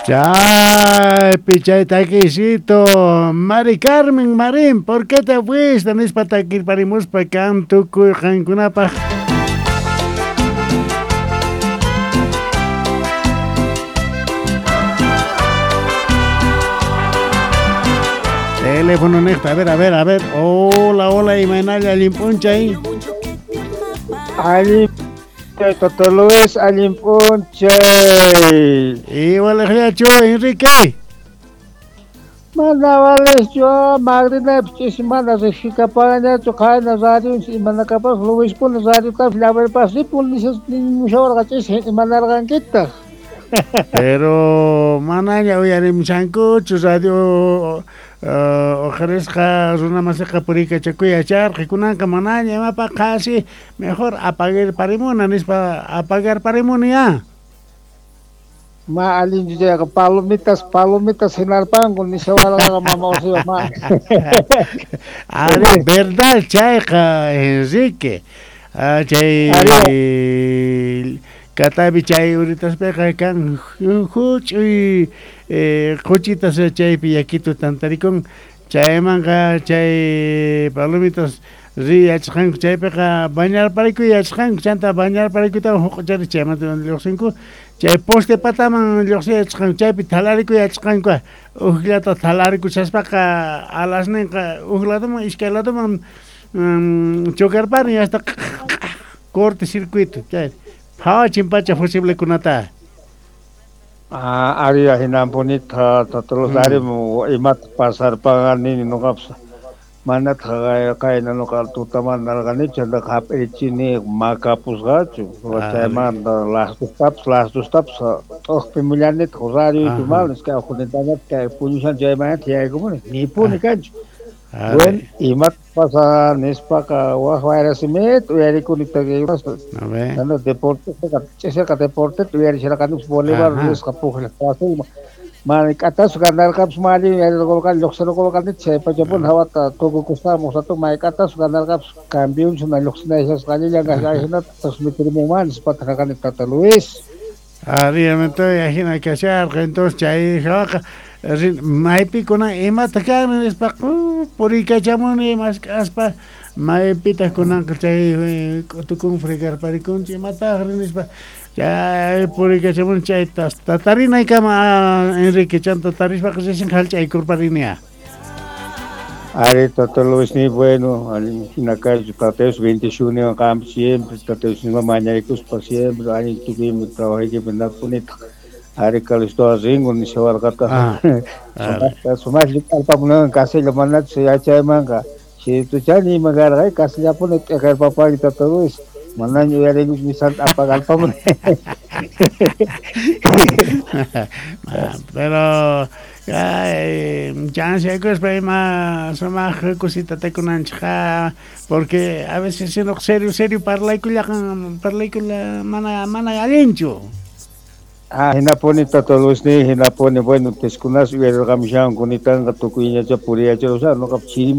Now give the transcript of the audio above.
Chaypi chay takisito Mari Carmen Marín, ¿por qué te fuiste? Nispa takirparimuspa kan tukuy qankunapaq. Teléfono niqta, a ver, a ver, a ver. Hola, hola, imaynalla allin p'unchay. Allin Tata Luis, allin p'unchay. Iwalaqllachu, Enrique. Mana valechu, Magdalena ch'isi mana riqsikaparañachu qayna radio imanakapas Luispuni radiotapas llamarpas ripun nimushawarqa ch'isi imanarqankitaq. Pero manaña uyarimushankuchu radio uqarisqa runa masiqa puriykachakuy yacharqa kunanqa manaña imapaq qasi mejor apagarparimuna nispa apagarparimuni ya. Ma allinchu chayqa palomitas palomitas hinarpanku nishawarqaqa mama Ursula ma. Ari, verdad chayqa Enrique. Chay katapi chay uritaspiqa kan huch'uy quchitas chaypi yakitu tantarikun chaymanqa chay palomitas riy yachasqanku chaypiqa bañarparikuy yachasqanku chanta bañarparikuytawan huq'uchari chaymanta lluqsinku chay poste pataman lluqsiy yachasqanku chaypi thalarikuy yachasqanku ujllata thalarikushaspaqa alasninqa uj ladoman iskay ladoman chocarparin hasta corte circuito chay phawachin pacha fusiblekunata. Ah, ari hinampunita Tata Luis ari imata pasarpaqa nini nuqapas manataq qayna nuqa tutamanta narqanichu chaytaqa hap'irichini makapusqachu chaymanta las dustapas las dustapas t'uqpimullanitaq radioychu mana kay uqunitañataq kay puñushan chaymanataq yaykumuni nipuni kanchu. Bueno, imata pasa nispaqa wak wayrasimita uyarikuni chayta deporteqa ch'isiqa deporteta uyarisharqanipas bolivar nisqa pukllaq pasayman mana k'atasqa ganarqapas mana allin uyarirqurqani lluqsirqurqani chay pachapuni hawata tukukusqaman rato mayk'atasqa ganarqapas campeonchuna lluqsinayshasqa allillan ajinata transmitirimunman nispataq karqani Tata Luis. Ari, ajina kasharqa entonces chay hawaqa maypi kunan imata kan nispa puriykachamuni mask'aspa maypitaq kunanqa chay k'utukun fregarparikunchik imataqri nispa chay puriykachamuni chayta tatarinaykama Enrique chanta tarispaqa recién hallch'aykurparinia. Ari Tata Luis ni bueno, allin hina kaychu Tata Dios bendicioniwan qampi siempre Tata Dios mañaykuspa siempre allin tukuymi trabajaykipi napunitaq ari Calistoa ringu nishawarqataq sumaq lluk'arpamunawan kasilla manachu yachaymanqa chaytuchani ima karqa kasillapuni t'iqarpapani Tata Luis manaña uyarinkuchu misanta apagarpamuni. Pero chansiakuspa ima sumaq kusita takunanchikqa porque a veces sino serio serio parlaykullaqa parlaykula mana mana allinchu. Ah, hinapuni Tata Luis ni hinapuni bueno teskunas uyarirqamushanku nitanqa tukuyñacha puriyacharusha nuqa chiri